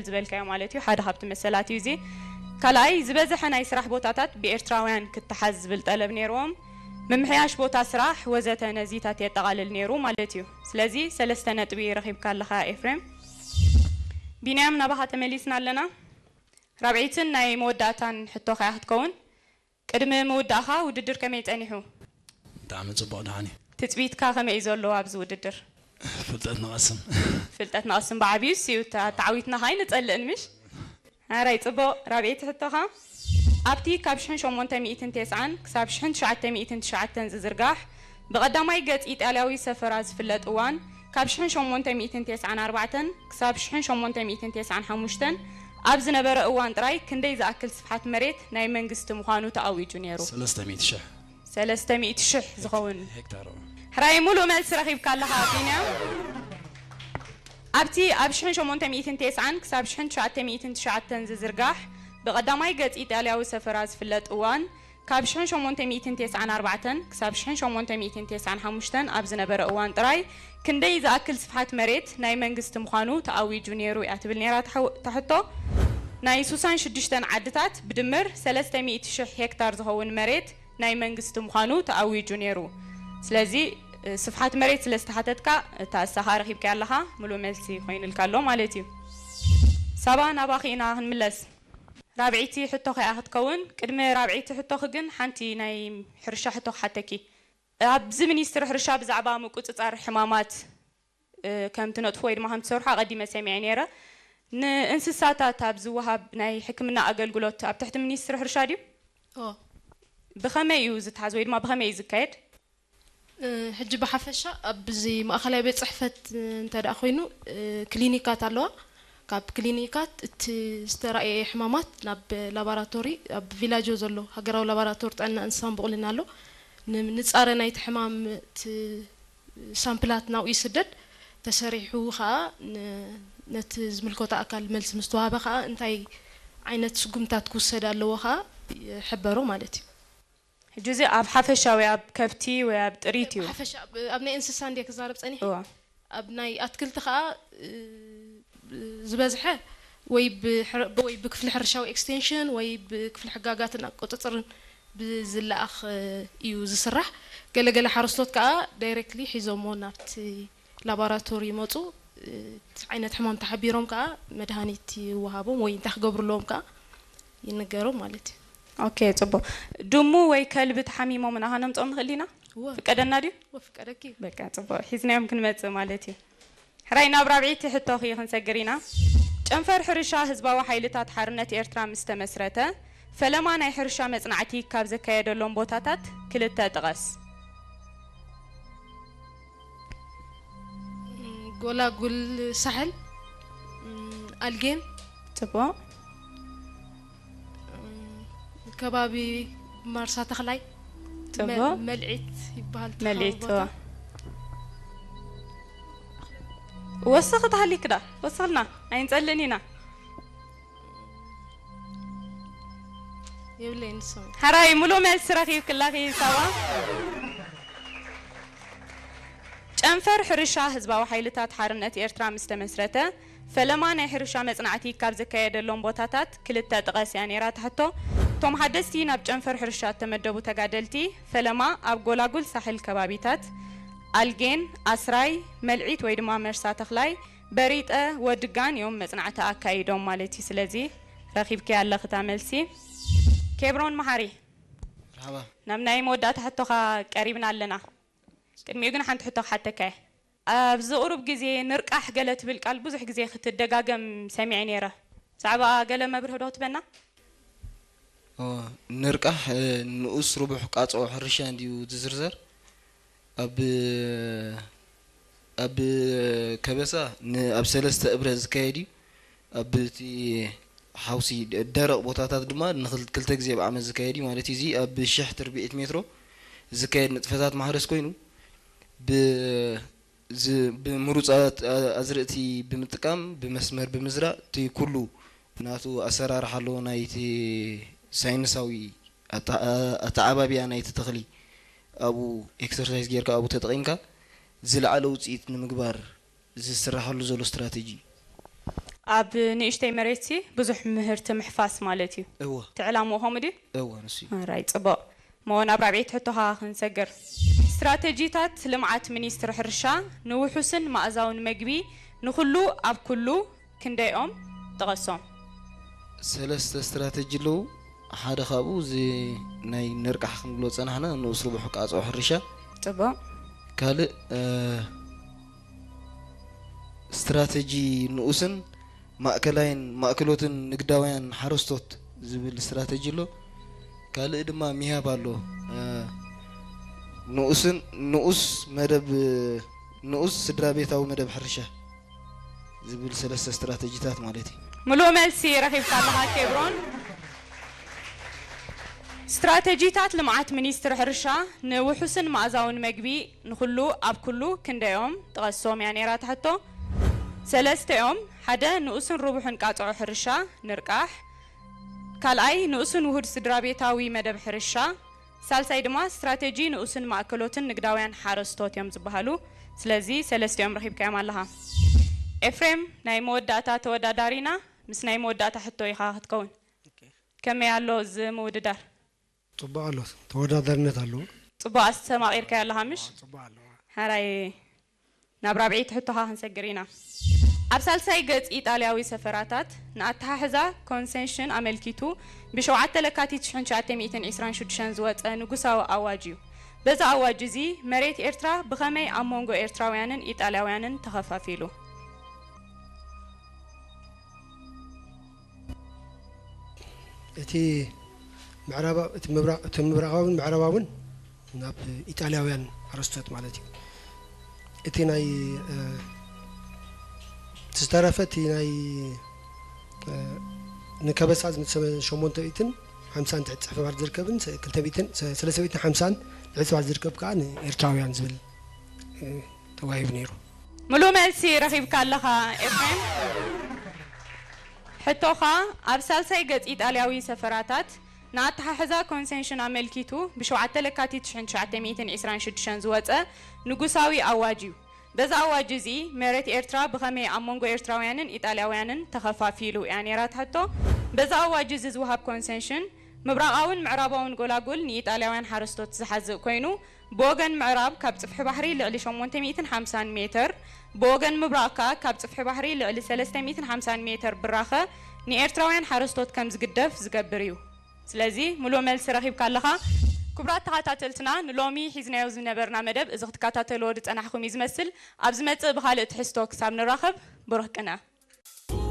ዝበልካዮ ማለት እዩ። ሓደ ካብቲ መሰላት እዩ እዚ። ካልኣይ፣ ዝበዝሐ ናይ ስራሕ ቦታታት ብኤርትራውያን ክተሓዝ ዝብል ጠለብ ነይርዎም። ምምሕያሽ ቦታ ስራሕ ወዘተ ነዚታት የጠቓልል ነይሩ ማለት እዩ። ስለዚ ሰለስተ ነጥቢ ረኺብካ ኣለኻ ኤፍሬም። ቢንያም፣ ናባኻ ተመሊስና ኣለና። ራብዐይትን ናይ መወዳእታን ሕቶኻ እያ ክትከውን። ቅድሚ ምውዳእኻ ውድድር ከመይ ጸኒሑ? ብጣዕሚ ጽቡቕ ደሓን እዩ። ትጽቢትካ ከመይ እዩ ዘሎ ኣብዚ ውድድር? ፍልጠት ንቐስም። ፍልጠት ንቐስም ብዓብዩ እዩ። እታ ተዓዊትና ኸኣ ኣይንጸልእን ምሽ? ኣራይ ጽቡቕ። ራብዐይቲ ሕቶኻ፣ ኣብቲ ካብ ሽሕን ሸሞንተ ሚእትን ተስዓን ክሳብ ሽሕን ትሽዓተ ሚእትን ትሽዓተን ዝዝርጋሕ ብቐዳማይ ገጽ ኢጣልያዊ ሰፈራ ዝፍለጥ እዋን ካብ ሽሕን ሸሞንተ ሚእትን ተስዓን ኣርባዕተን ክሳብ ሽሕን ሸሞንተ ሚእትን ተስዓን ሓሙሽተን ኣብ ዝነበረ እዋን ጥራይ ክንደይ ዝኣክል ስፍሓት መሬት ናይ መንግስቲ ምዃኑ ተኣዊጁ ነይሩ? ሰለስተ ሚእቲ ሽሕ ሰለስተ ሚእቲ ሽሕ ዝኸውን። ሄክታር። ሕራይ ሙሉእ መልሲ ረኺብካ ኣለኻ ቢንያም። ኣብቲ ኣብ ሽሕን ሸሞንተ ሚእትን ተስዓን ክሳብ ሽሕን ትሽዓተ ሚእትን ትሽዓተን ዝዝርጋሕ ብቐዳማይ ገጽ ኢጣልያዊ ሰፈራ ዝፍለጥ እዋን ካብ ሽሕን ሸሞንተ ሚእትን ተስዓን ኣርባዕተን ክሳብ ሽሕን ሸሞንተ ሚእትን ተስዓን ሓሙሽተን ኣብ ዝነበረ እዋን ጥራይ ክንደይ ዝኣክል ስፍሓት መሬት ናይ መንግስቲ ምዃኑ ተኣዊጁ ነይሩ እያ ትብል ነይራ እታ ሕቶ። ናይ ሱሳን ሽዱሽተን ዓድታት ብድምር ሰለስተ ሚእቲ ሽሕ ሄክታር ዝኸውን መሬት ናይ መንግስቲ ምዃኑ ተኣዊጁ ነይሩ። ስለዚ ስፍሓት መሬት ስለ ዝተሓተትካ እታ እሳኻ ረኺብካያ ኣለኻ፣ ሙሉእ መልሲ ኮይኑልካ ኣሎ ማለት እዩ። ሳባ፣ ናባኺ ኢና ክንምለስ። ራብዐይቲ ሕቶኺ እያ ክትከውን። ቅድሚ ራብዐይቲ ሕቶኺ ግን ሓንቲ ናይ ሕርሻ ሕቶ ክሓተኪ። ኣብዚ ሚኒስትሪ ሕርሻ ብዛዕባ ምቁጽጻር ሕማማት ከም ትነጥፉ ወይ ድማ ከም ትሰርሑ ኣቐዲመ ሰሚዐ ነይረ። ንእንስሳታት ኣብ ዝወሃብ ናይ ሕክምና ኣገልግሎት ኣብ ትሕቲ ሚኒስትሪ ሕርሻ ድዩ? ኦ ብኸመይ እዩ ዝተሓዝ ወይ ድማ ብኸመይ እዩ ዝካየድ? ሕጂ ብሓፈሻ ኣብዚ ማእኸላይ ቤት ፅሕፈት እንተ ደኣ ኮይኑ ክሊኒካት ኣለዋ። ካብ ክሊኒካት እቲ ዝተራእየ ሕማማት ናብ ላባራቶሪ ኣብ ቪላጆ ዘሎ ሃገራዊ ላባራቶሪ ጥዕና እንስሳን ብቑልን ኣሎ። ንምንፃረ ናይቲ ሕማም እቲ ሳምፕላት ናብኡ ይስደድ። ተሰሪሑ ከዓ ን- ነቲ ዝምልከቶ ኣካል መልሲ ምስ ተዋህበ ከዓ እንታይ ዓይነት ስጉምታት ክውሰድ ኣለዎ ከዓ ይሕበሮ ማለት እዩ። ሕጂ እዚ ኣብ ሓፈሻዊ ኣብ ከብቲ ወይ ኣብ ጥሪት እዩ? ሓፈሻ ኣብ- ኣብ ናይ እንስሳ እንድየ ክዛረብ ፀኒሐ። እዋ። ኣብ ናይ ኣትክልቲ ከዓ እ፣ ዝበዝሐ ወይ ብሕር- ወይ ብክፍሊ ሕርሻዊ ኤክስቴንሽን ወይ ብክፍሊ ሕጋጋትን ቁፅፅርን ብዝለኣኽ እዩ ዝስራሕ። ገለገለ ሓረስቶት ከዓ ዳይሬክትሊ ሒዞሞ ናብቲ ላቦራቶሪ ይመፁ። እቲ ዓይነት ሕማም ተሓቢሮም ከዓ መድሃኒት ይወሃቦም ወይ እንታይ ክገብሩ ኣለዎም ከዓ ይንገሮም ማለት እዩ። ኦኬ፣ ፅቡቅ። ድሙ ወይ ከልቢ ተሓሚሞም ኢና ከነምፅኦም ንኽእል ኢና? እወ። ፍቀደና ድዩ? ወፍቀደኪ። በቃ፣ ፅቡቅ፣ ሒዝናዮም ክንመፅእ ማለት እዩ። ሕራይ፣ ናብ ራብዒቲ ሕቶኺ ክንሰግር ኢና። ጨንፈር ሕርሻ ህዝባዊ ሓይልታት ሓርነት ኤርትራ ምስ ተመስረተ፣ ፈለማ ናይ ሕርሻ መጽናዕቲ ካብ ዘካየደሎም ቦታታት ክልተ ጥቐስ። ጎላጉል ሳሕል፣ ኣልጌን፣ ጽቡቕ። ከባቢ ማርሳ ተኽላይ፣ ጽቡቕ። መ- መልዒት ይበሃል እቲ መልዒት፣ ከባቢ ቦታ። እዋ። ወስኺ ተሃሊክ ዳ? ወስኽልና፣ ኣይንጸልእን ኢና። የብለይን ንሶም። ሕራይ፣ ሙሉእ መልሲ ረኺብክላኺ ሳባ። ጨንፈር ሕርሻ ህዝባዊ ሓይልታት ሓርነት ኤርትራ ምስ ተመስረተ፣ ፈለማ ናይ ሕርሻ መጽናዕቲ ካብ ዘካየደሎም ቦታታት ክልተ ጥቐስ እያ ነይራ እታ ሕቶ። እቶም ሓደስቲ ናብ ጨንፈር ሕርሻ እተመደቡ ተጋደልቲ፣ ፈለማ ኣብ ጎላጉል ሳሕል ከባቢታት፣ ኣልጌን፣ ኣስራይ፣ መልዒት ወይ ድማ መርሳ ተኽላይ፣ በሪጠ፣ ወድጋን እዮም መጽናዕቲ ኣካይዶም ማለት እዩ። ስለዚ ረኺብክያ ኣለኺ እታ መልሲ። ኬብሮን መሓሪ፣ መርሓባ። ናብ ናይ መወዳእታ ሕቶኻ ቀሪብና ኣለና። ቅድሚኡ ግን ሓንቲ ሕቶ ክሓተካ እየ። ኣብዚ ቁሩብ ግዜ ንርቃሕ ገለ ትብል ቃል ብዙሕ ግዜ ክትደጋገም ሰሚዐ ነይረ። ብዛዕባ ገለ መብርሂ ዶ ክትበና? ኦ፣ ንርቃሕ እ፣ ንኡስ ርቡሕ ቃጽዖ ሕርሻ እንድዩ ዝዝርዘር። ኣብ ኣብ ከበሳ ን- ኣብ ሰለስተ እብረ ዝካየድ እዩ። ኣብ እቲ ሓውሲ ደ- ደረቕ ቦታታት ድማ ንክል- ክልተ ግዜ ብዓመት ዝካየድ እዩ ማለት እዩ። እዚ ኣብ ሽሕ ትርብዒት ሜትሮ ዝካየድ ንጥፈታት ማሕረስ ኮይኑ ብ- ዝ- ብምሩፃት ኣ- ኣዝርእቲ ብምጥቃም ብመስመር ብምዝራእ እቲ ኩሉ ናቱ ኣሰራርሓ ኣለዎ። ናይቲ ሳይንሳዊ ኣተ- ኣተዓባብያ ናይቲ ተኽሊ ኣብኡ ኤክሰርሳይዝ ጌርካ ኣብኡ ተጠቒምካ ዝለዓለ ውፅኢት ንምግባር ዝስራሓሉ ዘሎ ስትራተጂ እዩ። ኣብ ንእሽተይ መሬትሲ ብዙሕ ምህርቲ ምሕፋስ ማለት እዩ። እወ እቲ ዕላምኡ ከምኡ ድዩ? እወ ንሱ እዩ። ራይ ጽቡቕ። እሞ ናብ ራብዒት ሕቶኻ ክንሰግር። ስትራተጂታት ልምዓት ሚኒስትሪ ሕርሻ ንውሑስን መኣዛውን መግቢ ንኹሉ ኣብ ኩሉ ክንደይኦም ጥቐሶም? ሰለስተ ስትራተጂ ኣለዉ። ሓደ ካብኡ እዚ ናይ ነርቃሕ ክንብሎ ጸናሕና ንኡስ ርቡሕ ቃጽኦ ሕርሻ። ጽቡቕ። ካልእ እ፣ ስትራተጂ ንኡስን ማእከላይን ማእከሎትን ንግዳውያን ሓረስቶት ዝብል ስትራተጂ ኣሎ። ካልእ ድማ ሚሃብ ኣሎ። እ፣ ንኡስን ንኡስ መደብ ንኡስ ስድራ ቤታዊ መደብ ሕርሻ ዝብል ሰለስተ ስትራተጂታት ማለት እዩ። ምሉእ መልሲ ረኺብካ ኣለኻ ኬብሮን። ስትራተጂታት ልምዓት ሚኒስትሪ ሕርሻ ንውሑስን መኣዛውን መግቢ ንኹሉ ኣብ ኩሉ ክንደዮም ጥቐሶም እያ ነይራ ትሕቶ። ሰለስተ እዮም። ሓደ ንኡስን ርቡሕን ቃጽዖ ሕርሻ ንርቃሕ፣ ካልኣይ ንኡስን ውሁድ ስድራ ቤታዊ መደብ ሕርሻ፣ ሳልሳይ ድማ ስትራተጂ ንኡስን ማእከሎትን ንግዳውያን ሓረስቶት እዮም ዝበሃሉ። ስለዚ ሰለስቲኦም ረኺብካዮም ኣለኻ። ኤፍሬም ናይ መወዳእታ ተወዳዳሪና ምስ ናይ መወዳእታ ሕቶ ኢኻ ክትከውን። ከመይ ኣሎ እዚ ምውድዳር? ፅቡቅ ኣሎ፣ ተወዳዳሪነት ኣለዎ። ጽቡቕ ኣስተማቒርካዮ ኣለኻ ምሽ? ፅቡቅ ኣሎ። ሓራይ ናብ ራብዒት ሕቶኻ ክንሰግር ኢና። ኣብ ሳልሳይ ገጽ ኢጣልያዊ ሰፈራታት ንኣተሓሕዛ ኮንሰንሽን ኣመልኪቱ ብሸውዓተ ለካቲት ሽሕን ትሽዓተ ሚእትን ዕስራን ሽዱሽተን ዝወጸ ንጉሳዊ ኣዋጅ እዩ። በዚ ኣዋጅ እዚ መሬት ኤርትራ ብኸመይ ኣብ መንጎ ኤርትራውያንን ኢጣልያውያንን ተኸፋፊሉ? እቲ ምዕራባ እቲ ምብራ- እቲ ምብራቓውን ምዕራባውን ናብ ኢጣልያውያን ሓረስቶት ማለት እዩ። እቲ ናይ እ፣ ዝተረፈ እቲ ናይ እ፣ ንከበሳ ዝምሰለ ሸሞንተ ሚእትን ሓምሳን ትሕቲ ፅሕፈ ባር ዝርከብን ሰ- ክልተ ሚእትን ሰ- ሰለስተ ሚእትን ሓምሳን ትሕቲ ባር ዝርከብ ከዓ ንኤርትራውያን ዝብል እ፣ ተዋሂቡ ነይሩ። ምሉእ መልሲ ረኺብካ ኣለኻ ኤፍሬም። ሕቶኻ ኣብ ሳልሳይ ገጽ ኢጣልያዊ ሰፈራታት ንኣተሓሕዛ ኮንሰንሽን ኣመልኪቱ ብሸውዓተ ለካቲት ሽሕን ትሽዓተ ሚእትን ዕስራን ሽዱሽተን ዝወጸ ንጉሳዊ ኣዋጅ እዩ። በዚ ኣዋጅ እዚ መሬት ኤርትራ ብኸመይ ኣብ መንጎ ኤርትራውያንን ኢጣልያውያንን ተኸፋፊሉ እያ ነይራ ትሕቶ። በዚ ኣዋጅ እዚ ዝወሃብ ኮንሰንሽን ምብራቓውን ምዕራባውን ጎላጉል ንኢጣልያውያን ሓረስቶት ዝሓዝእ ኮይኑ ብወገን ምዕራብ ካብ ጽፍሒ ባሕሪ ልዕሊ ሸሞንተ ሚእትን ሓምሳን ሜተር፣ ብወገን ምብራቕ ከኣ ካብ ጽፍሒ ባሕሪ ልዕሊ ሰለስተ ሚእትን ሓምሳን ሜተር ብራኸ ንኤርትራውያን ሓረስቶት ከም ዝግደፍ ዝገብር እዩ። ስለዚ ምሉእ መልሲ ረኺብካ ኣለኻ። ክቡራት ተኸታተልትና ንሎሚ ሒዝናዮ ዝነበርና መደብ እዚ ክትከታተልዎ ዝጸናሕኩም እዩ ዝመስል። ኣብ ዝመጽእ ብኻልእ ትሕዝቶ ክሳብ ንራኸብ ብሩኽ ቅነ።